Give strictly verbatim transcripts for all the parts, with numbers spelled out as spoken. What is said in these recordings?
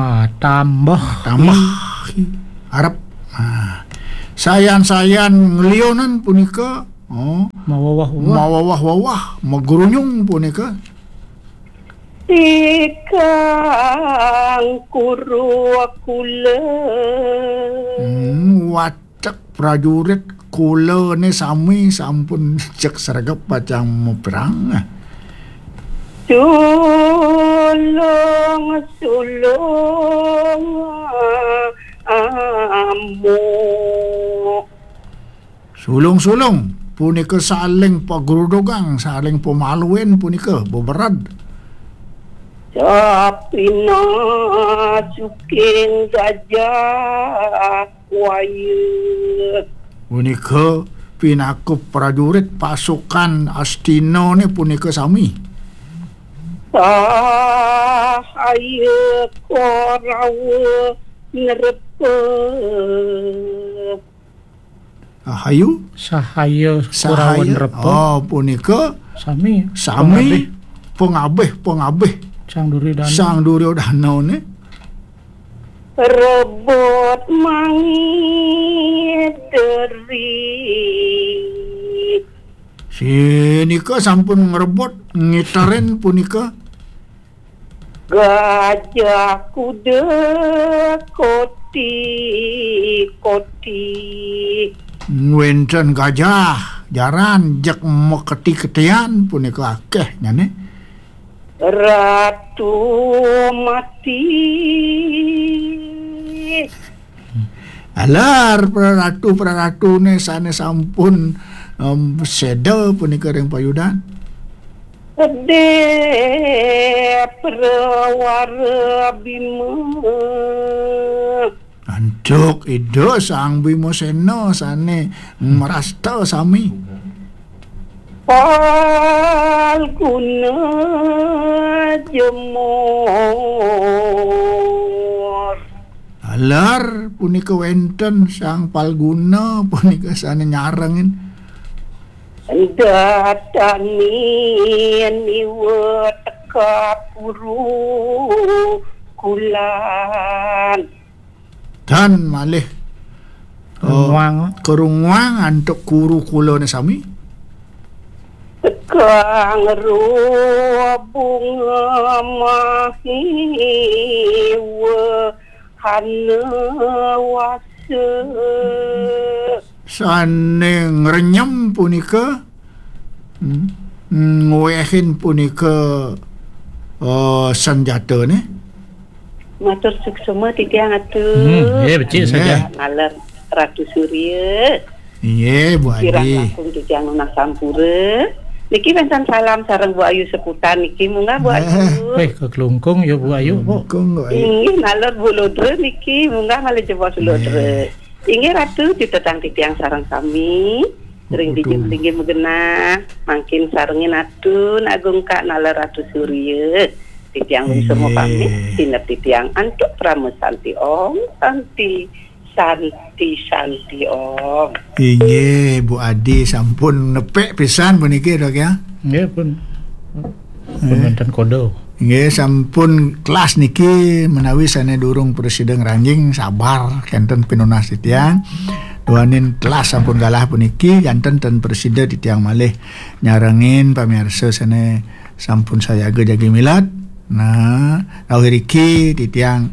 Ah, tambah. Tambah. Arep. Ah. Sayan-sayan nglionan punika, oh, maweweh-weweh. Maweweh-weweh, magrunyung punika. Tikang kuru kula. Hmm, watek prajurit kulane sami sampun cek sregep pacang maperang. Tulung, sulung, amuk. Sulung-sulung punika saling pagrudugang, saling pamaluen punika bebered. Sapina suking gajah waya. Punika pinaka prajurit pasukan Astinane punika sami. Sahaya Korawa nrepa. Ahayu? Sahaya Korawa nrepa. Oh, punika sami. Sami pangabih, pangabih. Sang Duryodana. Sang Duryodana ne. Rebut mangideri. Sinika sampun ngrebut ngiterin punika. Gajah kuda koti-koti. Wenten gajah jaran jeg maketi-ketian punika akeh nyane. Ratu mati. Alar, praratu, praratune sane sampun, em, seda punika ring payudan. Ede prawara Bima. Antuk Ida Sang Bima Sena sane mrasta sami. Palguna jemur. Alar punika wenten Sang Palguna punika sane nyarengin. Datani niwa teka puru kulan. Dan malih, eh, Kerunguang. Kerunguang antuk kuru kulane sami. Tekang ruh bunga mahiwa hana wasa. Sane ngrenyem punika, hmm, ngwehin punika, eh, sanjatane. Matur suksma titiang atur. Hmm, nggih, becik saja. Nggih. Naler Ratu Surya. Nggih, Bu Adi. Kirang langkung titiang nunas sampura. Niki wenten salam sareng Bu Ayu Seputan niki, munggah Bu Ayu. Eh, keklungkung ya Bu Ayu, Bu. Keklungkung, Bu Ayu. Inggih, naler Bu Lodra niki, munggah malih jebos Lodra. Nggih. Inggih Ratu, cutetang titiang sareng sami. Ring dija linggih magenah, mangkin sarengin atun agung ka naler Ratu Surya. Titiang nunas pamit, sineb titiang antuk Parama Santi Om, Santi, Santi, Santi Om. Inggih, Bu Adi sampun nepek pisan puniki, Dok, ya. Nggih, pun. Pun wenten kode. Nggih, sampun telas niki menawi sane durung prasida ngranjing, sabar, kenten pinunas titiang. Duaning telas sampun galah puniki, janten ten prasida titiang malih nyarengin pamiarsa sane sampun sayaga jagi milat. Nah, rawuh iriki titiang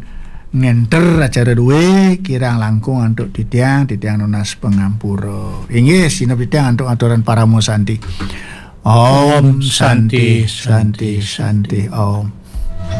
ngenter acara duwe, kirang langkung antuk titiang, titiang nunas pangampura. Inggih, sineb titiang antuk aturan Parama Santi. Om Santi, Santi, Santi, Om.